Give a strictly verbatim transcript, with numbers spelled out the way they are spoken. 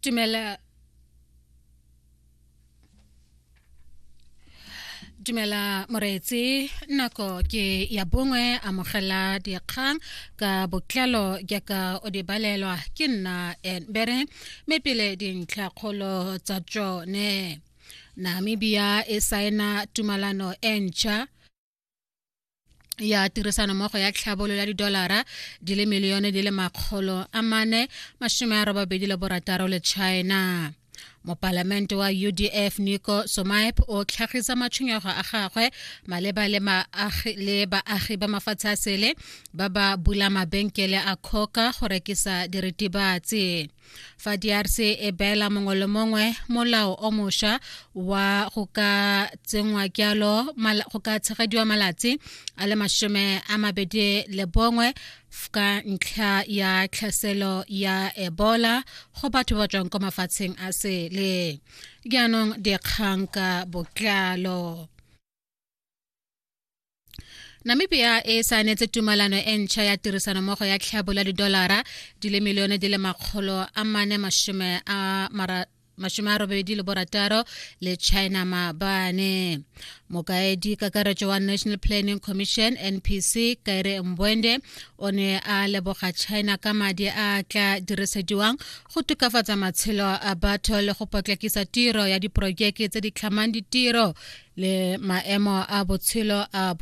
Dumela Dumela moreetsi, nako ke ya bongwe. Amogela dikgang ka botlalo jaaka o di balelwa ke nna Bere, mme pele dintlhakgolo tsa tsone. Namibia e saena tumalano e ntšha ya tirisanommogo ya tlhabololo ya didolara di le milione di le makgolo a mane masome a robabedi le borataro le China. Mopalamente wa U D F Nico Somaip o tlhagisa matshwenyego a gagwe maleba le le baagi ba mafatshe a sele ba ba bula mabenkele a coca go rekisa diritibatsi. Fa D R C e beela mongwe le mongwe molao o mošwa wa go ka tsenngwa jalo go ka tshegediwa malatsi a le masome a mabedi le bongwe ka ntlha ya tlhaselo ya Ebola go batho ba tswang kwa mafatsheng a sele. Jaanong dikgang ka botlalo. Namibia e saenetse tumalano e ntšha ya tirisanommogo ya tlhabololo ya didolara di le milione di le makgolo a mane masome a masome a robedi le borataro le China maabane. Mokaedi kakaretso wa National Planning Commission, N P C, Kaire Mbuende, o ne a leboga China ka madi a tla dirisediwang go tokafatsa matshelo a batho le go potlakisa tiro ya diporojeke tse di tlhamang ditiro le maemo a botshelo a.